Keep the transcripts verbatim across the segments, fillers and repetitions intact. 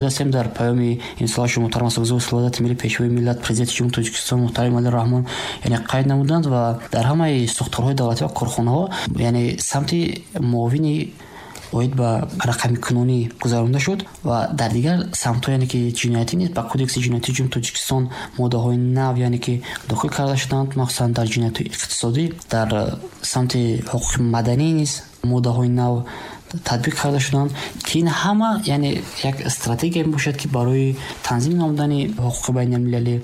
Ҳастем, дар паёми имсолаи муҳтарам Асосгузори сулҳу ваҳдати миллӣ, Пешвои миллат, Президенти Ҷумҳурии Тоҷикистон муҳтарам Эмомалӣ Раҳмон, яъне қайд намуданд ва дар ҳамаи сохторҳои давлатӣ ва корхонаҳо, яъне самти муовини оид ба рақамикунонӣ гузаронда шуд ва дар дигар самтҳо, яъне ки ҷиноятӣ низ ба Кодекси ҷиноятии Ҷумҳурии Тоҷикистон моддаҳои нав, яъне ки дохил карда шуданд, махсусан дар ҷиноятҳои иқтисодӣ, дар самти ҳуқуқи маданӣ низ моддаҳои нав татбиқ карда шуданд, ки ин ҳама, яъне як стратегия мебошад, ки барои танзим намудани ҳуқуқи байналмилалӣ,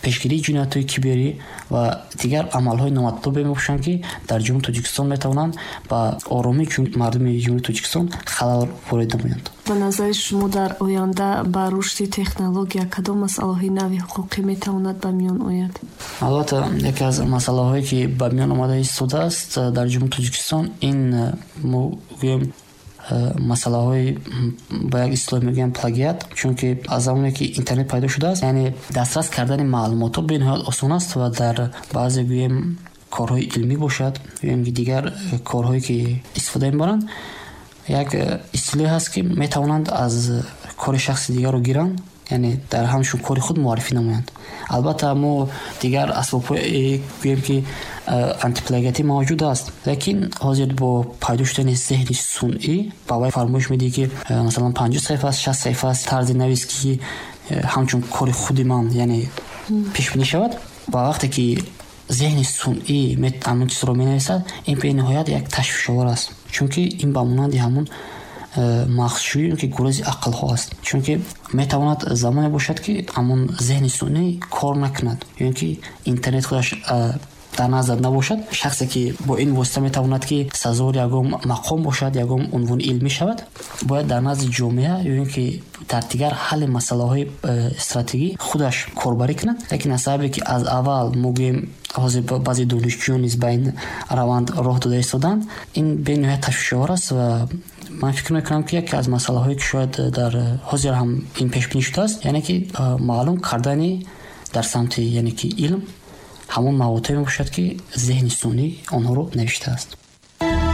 пешгирии ҷиноятҳои киберӣ ва дигар амалҳои номатлубе мебошанд, ки дар Ҷумҳурии Тоҷикистон метавонанд ба оромии мардуми Ҷумҳурии Тоҷикистон халал ворид намоянд. Ба назари шумо, дар оянда ба рушди технология кадом масъалаҳои нави ҳуқуқӣ метавонад ба миён ояд? Албатта, яке аз масъалаҳое, ки ба миён омада истодааст дар Ҷумҳурии Тоҷикистон, ин мо гӯем масъалаҳои ба як истилоҳ мегӯям плагиат, чунки аз замоне ки интернет пайдо шудааст, яъне дастрас кардани маълумотҳо бениҳоят осон аст ва дар баъзе, гӯем, корҳои илмӣ бошад ё ин ки дигар корҳое ки истифода мебаранд, як истилоҳе ҳаст, ки метавонанд аз кори шахси дигарро гиранд, яъне дар ҳамчун кори худ муаррифӣ намоянд. Албатта, мо дигар асбобҳое, гӯем ки антиплагиатӣ мавҷуд аст, лекин ҳозир бо пайдо шудани зеҳни сунъӣ ба вай фармоиш медиҳӣ, ки масалан панҷоҳ саҳифа аст, шаст саҳифа аст, тарзи навис, ки ҳамчун кори худи ман, яъне пешбинӣ шавад. Ва вақте ки зеҳни сунъӣ ҳамон чизро менависад, ин бениҳоят як ташвишовар аст, чунки ин ба монанди ҳамон мағзшӯӣ, ки гурези ақлҳо аст, чунки метавонад замоне бошад, ки ҳамон зеҳни сунъӣ кор накунад ё ин ки интернет худаш дар назар набошад. Шахсе ки бо ин восита метавонад, ки сазовори ягон мақом бошад, ягон унвони илмӣ шавад, бояд дар назди ҷомеа ё ин ки дар дигар ҳалли масъалаҳои э, стратегӣ худаш корбарӣ кунад. Лекин аз сабабе ки аз аввал мо гӯем, ҳозир баъзе донишҷӯён низ ба ин раванд роҳ дода истоданд, ин бениҳоят ташвишовар аст. Ва ман фикр мекунам, ки яке аз масъалаҳое, ки шояд дар ҳозир ҳам ин пешбинӣ шудааст, яъне ки э, маълум кардани дар самти, яъне ки илм, ҳамон маводҳое мебошад, ки зеҳни сунъӣ онҳоро навиштааст.